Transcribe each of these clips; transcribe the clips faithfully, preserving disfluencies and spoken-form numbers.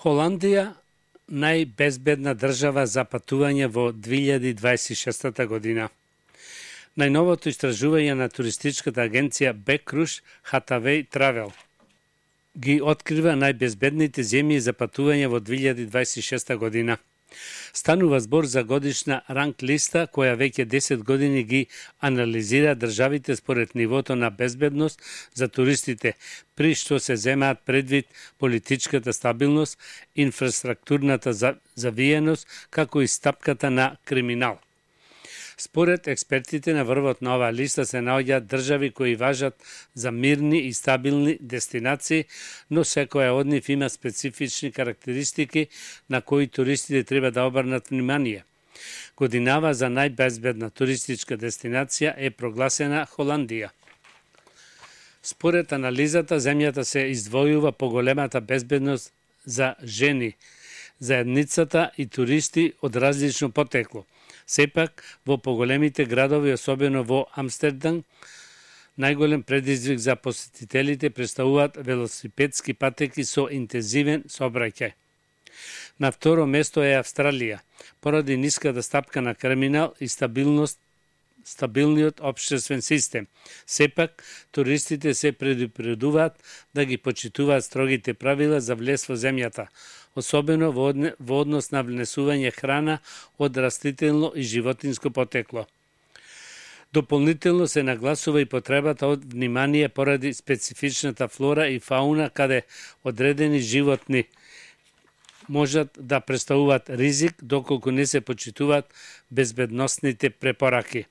Холандија најбезбедна држава за патување во две илјади дваесет и шеста година. Најновото истражување на туристичката агенција Бекруш Хатавеј Травел ги открива најбезбедните земји за патување во две илјади дваесет и шеста година. Станува збор за годишна ранг листа која веќе десет години ги анализира државите според нивото на безбедност за туристите, при што се земаат предвид политичката стабилност, инфраструктурната завиеност, како и стапката на криминал. Според експертите на врвот на оваа листа се наоѓаат држави кои важат за мирни и стабилни дестинации, но секоја од нив има специфични карактеристики на кои туристите треба да обрнат внимание. Годинава за најбезбедна туристичка дестинација е прогласена Холандија. Според анализата, земјата се издвојува по големата безбедност за жени, заедницата и туристи од различно потекло. Сепак, во поголемите градови, особено во Амстердам, најголем предизвик за посетителите представуваат велосипедски патеки со интензивен сообраќај. На второ место е Австралија, поради ниската стапка на криминал и стабилност стабилниот општествен систем. Сепак, туристите се предупредуваат да ги почитуваат строгите правила за влез во земјата, особено во однос на внесување храна од растително и животинско потекло. Дополнително се нагласува и потребата од внимание поради специфичната флора и фауна, каде одредени животни можат да представуваат ризик доколку не се почитуваат безбедносните препораки.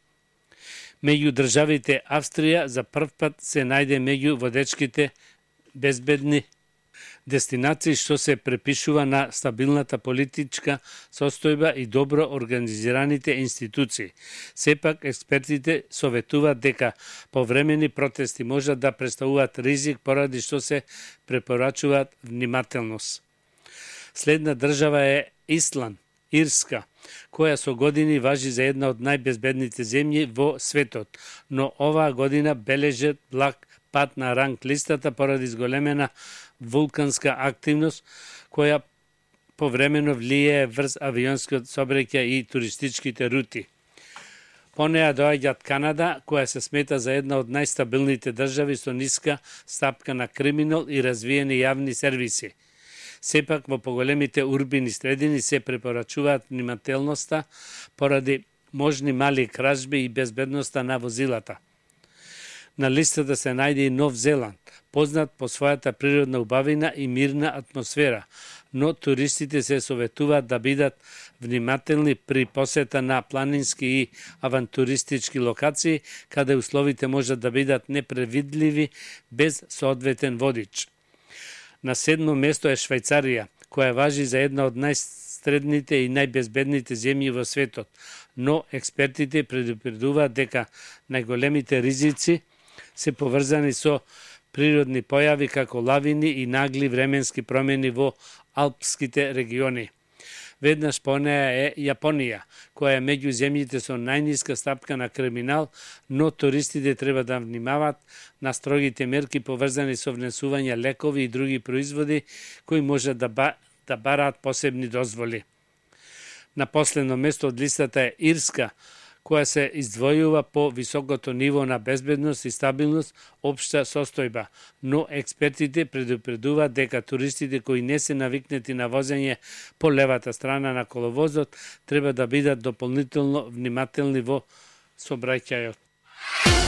Меѓу државите Австрија за прв пат се најде меѓу водечките безбедни дестинации, што се препишува на стабилната политичка состојба и добро организираните институции. Сепак, експертите советуваат дека повремени протести можат да представуваат ризик поради што се препорачуваат внимателност. Следна држава е Исланд, Ирска, која со години важи за една од најбезбедните земји во светот, но оваа година бележат благ пат на ранг листата поради зголемена вулканска активност, која повремено влијае врз авионскиот сообраќај и туристичките рути. По неа доаѓаат Канада, која се смета за една од најстабилните држави со ниска стапка на криминал и развиени јавни сервиси. Сепак во поголемите урбини средини се препорачуваат внимателноста поради можни мали кражби и безбедноста на возилата. На листата се најде и Нов Зеланд, познат по својата природна убавина и мирна атмосфера, но туристите се советуваат да бидат внимателни при посета на планински и авантуристички локации, каде условите можат да бидат непредвидливи без соодветен водич. На седмо место е Швајцарија, која важи за една од најстредните и најбезбедните земји во светот, но експертите предупредуваат дека најголемите ризици се поврзани со природни појави како лавини и нагли временски промени во алпските региони. Веднаш по неа е Јапонија, која е меѓу земјите со најниска стапка на криминал, но туристите треба да внимаваат на строгите мерки поврзани со внесување лекови и други производи кои можат да, ба, да бараат посебни дозволи. На последно место од листата е Ирска, која се издвојува по високото ниво на безбедност и стабилност општа состојба, но експертите предупредуваат дека туристите кои не се навикнети на возење по левата страна на коловозот треба да бидат дополнително внимателни во сообраќајот.